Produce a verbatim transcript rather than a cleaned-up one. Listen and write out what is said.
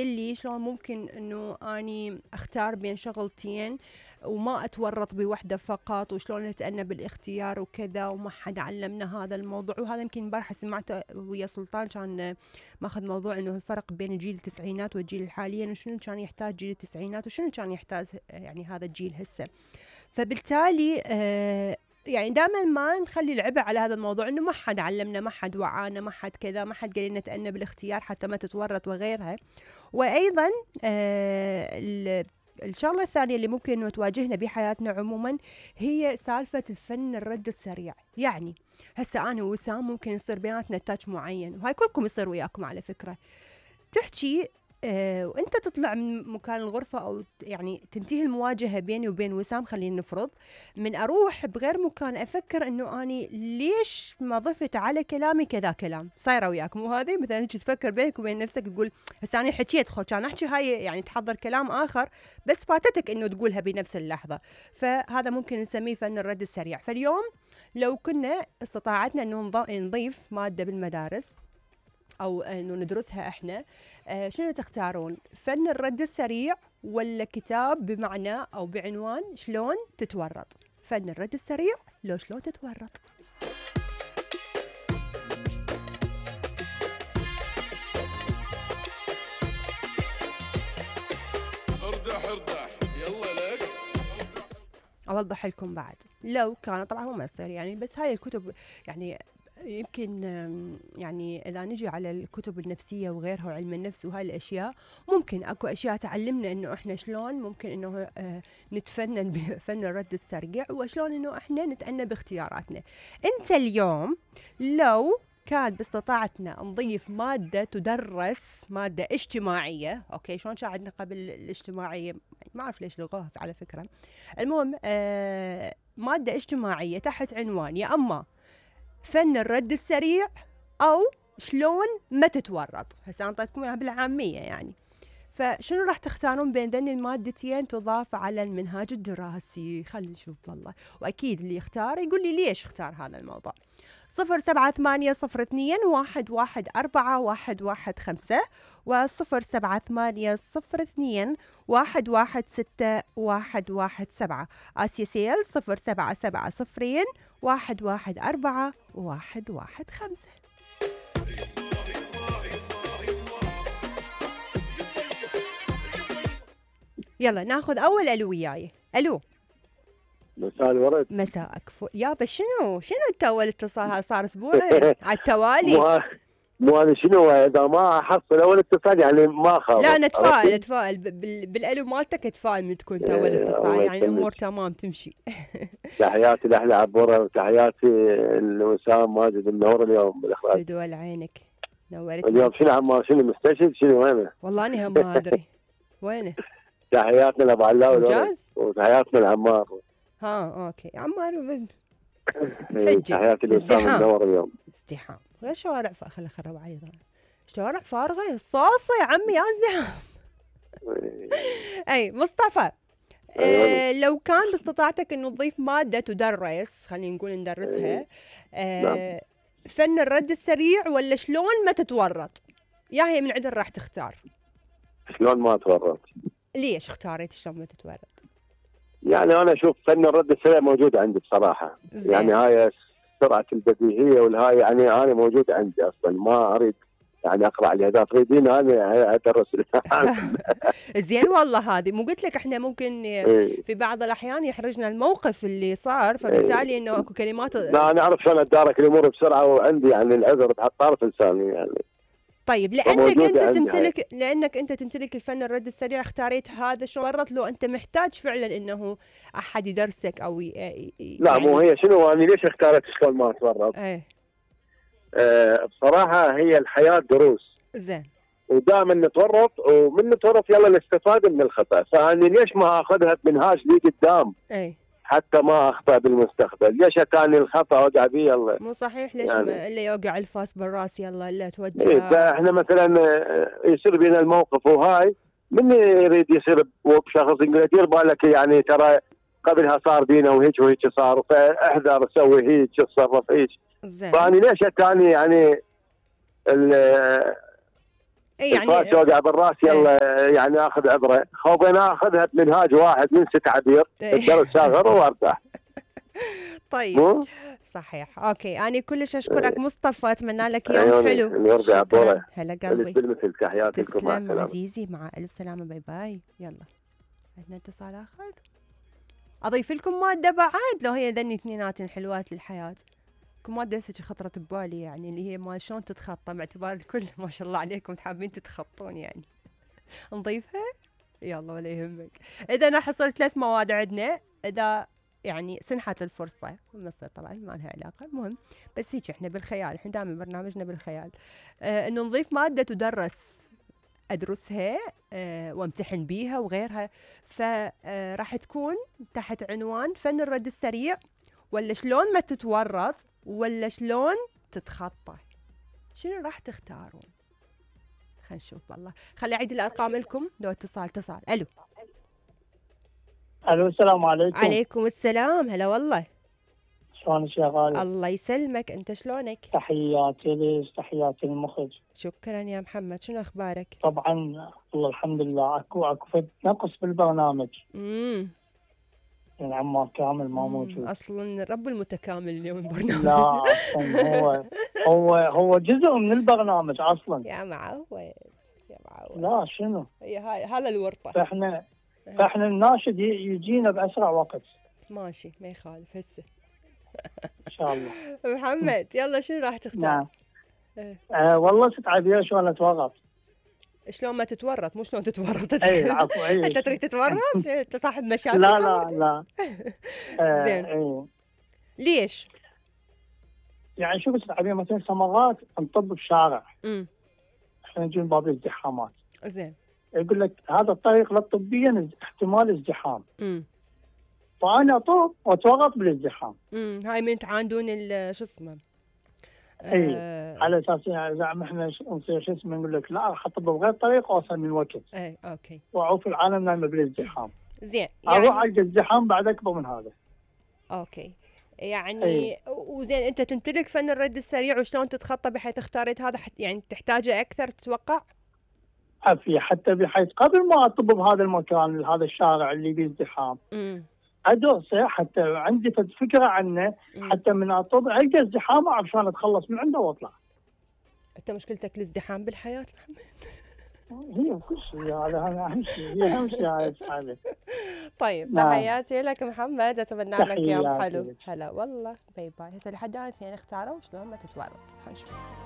اللي شلون ممكن انه اني اختار بين شغلتين وما اتورط بوحده فقط، وشلون اتأنى بالاختيار وكذا، وما حد علمنا هذا الموضوع. وهذا يمكن امبارح سمعته ويا سلطان، كان ماخذ موضوع انه الفرق بين الجيل التسعينات والجيل الحالي، وشنو كان يحتاج جيل التسعينات وشنو كان يحتاج يعني هذا الجيل هسه. فبالتالي آه يعني دائما ما نخلي العبء على هذا الموضوع، انه ما حد علمنا، ما حد وعانا، ما حد كذا، ما حد قال لنا نتأنى بالاختيار حتى ما تتورط وغيرها. وايضا آه الشغله الثانيه اللي ممكن انه تواجهنا بحياتنا عموما هي سالفه الفن الرد السريع. يعني هسه انا ووسام ممكن يصير بيناتنا تاتش معين، وهاي كلكم يصير وياكم على فكره، تحكي آه وانت تطلع من مكان الغرفة، او يعني تنتهي المواجهة بيني وبين وسام، خلينا نفرض، من اروح بغير مكان افكر انه اني ليش ما ضفت على كلامي كذا كلام. صايرة وياكم وهذه مثلا هيك تفكر بينك وبين نفسك، تقول هسه انا حكيت خو كان احكي هاي، يعني تحضر كلام اخر بس فاتتك انه تقولها بنفس اللحظة. فهذا ممكن نسميه فن الرد السريع. فاليوم لو كنا استطاعتنا انه نضيف مادة بالمدارس او انه ندرسها احنا، آه شنو تختارون؟ فن الرد السريع ولا كتاب بمعنى او بعنوان شلون تتورط؟ فن الرد السريع لو شلون تتورط. اردح اردح يلا لك. اوضح لكم بعد، لو كان طبعا هو ما يصير يعني، بس هاي الكتب يعني يمكن يعني إذا نجي على الكتب النفسية وغيرها وعلم النفس وهاي الأشياء، ممكن أكو أشياء تعلمنا إنه إحنا شلون ممكن إنه نتفنن بفن الرد السريع، وشلون إنه إحنا نتأنى باختياراتنا. أنت اليوم لو كان باستطاعتنا نضيف مادة تدرس، مادة اجتماعية، أوكي شلون شاعدنا قبل الاجتماعية، ما أعرف ليش لغوها على فكرة. المهم آه مادة اجتماعية تحت عنوان يا أما فن الرد السريع او شلون ما تتورط. هسه انا اعطيتكم اياها بالعاميه يعني. فشنو راح تختارون بين ذني المادتين تضاف على المنهاج الدراسي؟ خلينا نشوف والله، واكيد اللي يختار يقول لي ليش اختار هذا الموضوع. صفر سبعة ثمانية صفر اثنين واحد واحد أربعة واحد واحد خمسة وصفر سبعة ثمانية صفر اثنين واحد واحد ستة واحد واحد سبعة. آسيا سيل صفر سبعة سبعة صفرين واحد واحد أربعة واحد واحد خمسة. يلا ناخذ أول ألو وياي. ألو. مساء الورد. مساءك فل يابا. شنو شنو انت اول اتصال صار اسبوعين على التوالي؟ مو مو انا شنو اذا ما احصل اول اتصال يعني ما خاف. لا نتفائل نتفائل بالالو مالتك، اتفائل من تكون انت اول اتصال يعني الامور تمام تمشي. تحياتي لاحلى عبوره وتحياتي لوسام ماجد منور اليوم بالاخراج. بدول عينك نورت. اليوم شنو عمار شنو مستشهد شنو وينه؟ والله انا هم ما ادري وينه. تحياتنا لابو علاوي ممتاز وتحياتنا لعمار. ها اوكي عمار تحياتي لوسام منور اليوم. ازدحام غير شوارع خلي خرب علي شوارع فارغه الصاصه يا عمي يا ازدحام. اي مصطفى آه لو كان باستطاعتك انه تضيف ماده تدرس، خلينا نقول ندرسها، آه فن الرد السريع ولا شلون ما تتورط؟ يا هي من عدل راح تختار؟ شلون ما اتورط. ليش اختاريت شلون ما تتورط؟ يعني انا اشوف فن الرد السريع موجود عندي بصراحه. زي. يعني هاي سرعه البديهيه والهاي يعني انا موجود عندي اصلا، ما اريد يعني اقرا عليها. اذا تريدين انا ادرس. زين والله هذه مو قلت لك احنا ممكن في بعض الاحيان يحرجنا الموقف اللي صار، فبالتالي انه اكو كلمات. لا انا اعرف شلون اتدارك الامور بسرعه، وعندي يعني العذر تحت طرف لساني يعني. طيب لانك انت تمتلك هاي. لانك انت تمتلك الفن الرد السريع اختاريت هذا. شو ورط لو انت محتاج فعلا انه احد يدرسك او ي... يعني لا مو هي شنو انا ليش اختاريت شلون ما اتورط؟ ايه آه بصراحه هي الحياه دروس. زين. ودائما نتورط، ومن نتورط يلا نستفاد من الخطا، فانا ليش ما اخذها بمنهاج لي قدام؟ اي حتى ما اخطا بالمستقبل. ليش اتاني الخطا اوقع به يلا؟ مو صحيح. ليش يعني اللي يوقع الفاس بالراس يلا الا توجه. إيه فاحنا مثلا يصير بينا الموقف وهاي من يريد يصير بشخص يقول دير بالك يعني ترى قبلها صار بينا وهيك وهيك صار، فاحذر سوي هيك تصرف هيك. فاني ليش اتاني يعني يعني الفات توقع بالراس يلا يعني اخذ عبره، خو بين اخذها بمنهاج واحد من ست عبير الدرس شاغر وارتاح. طيب مو صحيح. اوكي انا كلش اشكرك مصطفى، اتمنى لك يوم عيوني حلو. اللي يرجع شكرا طوله. هلا قلبي. بالمثل تحياتي لكم، مع تسلم السلامه. عزيزي، مع الف سلامه، باي باي. يلا عندنا اتصال اخر. اضيف لكم ماده بعد لو هي ذني اثنينات حلوات للحياه. كم ماده هسه خطرت ببالي يعني اللي هي ما شلون تتخطى، باعتبار الكل ما شاء الله عليكم حابين تتخطون يعني. نضيفها؟ يلا ولا يهمك. اذا راح يصير ثلاث مواد عندنا، اذا يعني سنحت الفرصه مصر طبعا ما لها علاقه، المهم بس هيك احنا بالخيال، احنا دائما برنامجنا بالخيال. آه انه نضيف ماده تدرس ادرسها آه وامتحن بيها وغيرها، فراح تكون تحت عنوان فن الرد السريع، ولا شلون ما تتورط، ولا شلون تتخطى. شنو راح تختارون؟ خلينا نشوف. والله خلي اعيد الارقام لكم لو اتصال اتصال. الو الو السلام عليكم. عليكم السلام، هلا والله. شلونك يا غالي؟ الله يسلمك، انت شلونك؟ تحياتي ليش، تحياتي المخرج. شكرا يا محمد، شنو اخبارك؟ طبعا والله الحمد لله. اكو اكو فد نقص بالبرنامج، امم يعني عمار كامل ما موجود. اصلا رب المتكامل اليوم البرنامج. لا اصلا هو هو هو جزء من البرنامج اصلا. يا معود يا معود. لا شنو؟ هي هاي هذا الورطه. فاحنا فاحنا الناشد يجينا باسرع وقت. ماشي ما يخالف هسه. ان شاء الله. محمد يلا شنو راح تختار؟ نعم. اه. آه والله ست عبير شلون اتورط. شلون ما تتورط، مو شلون تتورط. اي عفوا اي. انت تريد تتورط؟ انت صاحب مشاكل. لا لا لا. آه زين. اي. ليش؟ يعني شوف ست عبير مثلا سمرات نطب بشارع. امم احنا نجي من باب الازدحامات. زين. يقول لك هذا الطريق لا طبيا احتمال ازدحام. امم فانا اطوف واتورط بالازدحام. امم هاي من تعاندون شو اسمه. اي آه. على اساس يعني زعما احنا نصير شو اسمه نقول لك لا راح اطب بغير طريق واوصل من وقت. اي اوكي. واعوف العالم نايمه بالازدحام. زين يعني اروح يعني القى ازدحام بعد اكبر من هذا. اوكي يعني أي. وزين انت تمتلك فن الرد السريع وشلون تتخطى بحيث اختاريت هذا يعني تحتاجه اكثر تتوقع؟ عافية حتى بحيث قبل ما اطب بهذا المكان هذا الشارع اللي فيه ازدحام امم ادرسه حتى عندي فكره عنه. مم. حتى من اطب القى ازدحام اعرف شلون اتخلص من عنده واطلع. انت مشكلتك الازدحام بالحياه محمد. هي كل شيء هذا هذا اهم شيء، هي اهم شيء هاي الحاله. طيب نعم. تحياتي لك محمد، اتمنى لك يوم تحياتي حلو. لك. هلا والله باي باي. هسه لحد الان اثنين اختاروا شلون ما تتورط. خلينا نشوف.